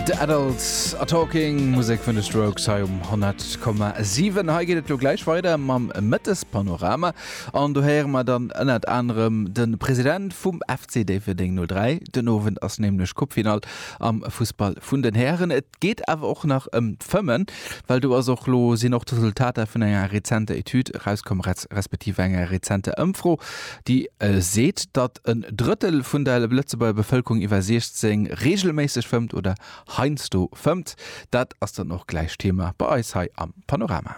The Adults Are Talking, Musek vun de Strokes hei um 100,7. Hei geet et lo gläich weider mam Mëttespanorama an do héiere mer dann ënnert anerem de President vum FC Déifferdeng 03. Den Owend ass nämlech Coupefinall am Fussball vun den Hären. Et geet awer och nach ëm d'Fëmmen, well do ass och lo sinn och d'Resultater vun enger rezenter Etüd erauskomm, respektiv enger rezenter Ëmfro, déi seet, datt en Drëttel vun der Lëtzebuerger Bevëlkerung iwwer 16 reegelméisseg fëmmt oder heiansdo fëmmt. Dat ass dann och gläich Thema bei eis hei am Panorama.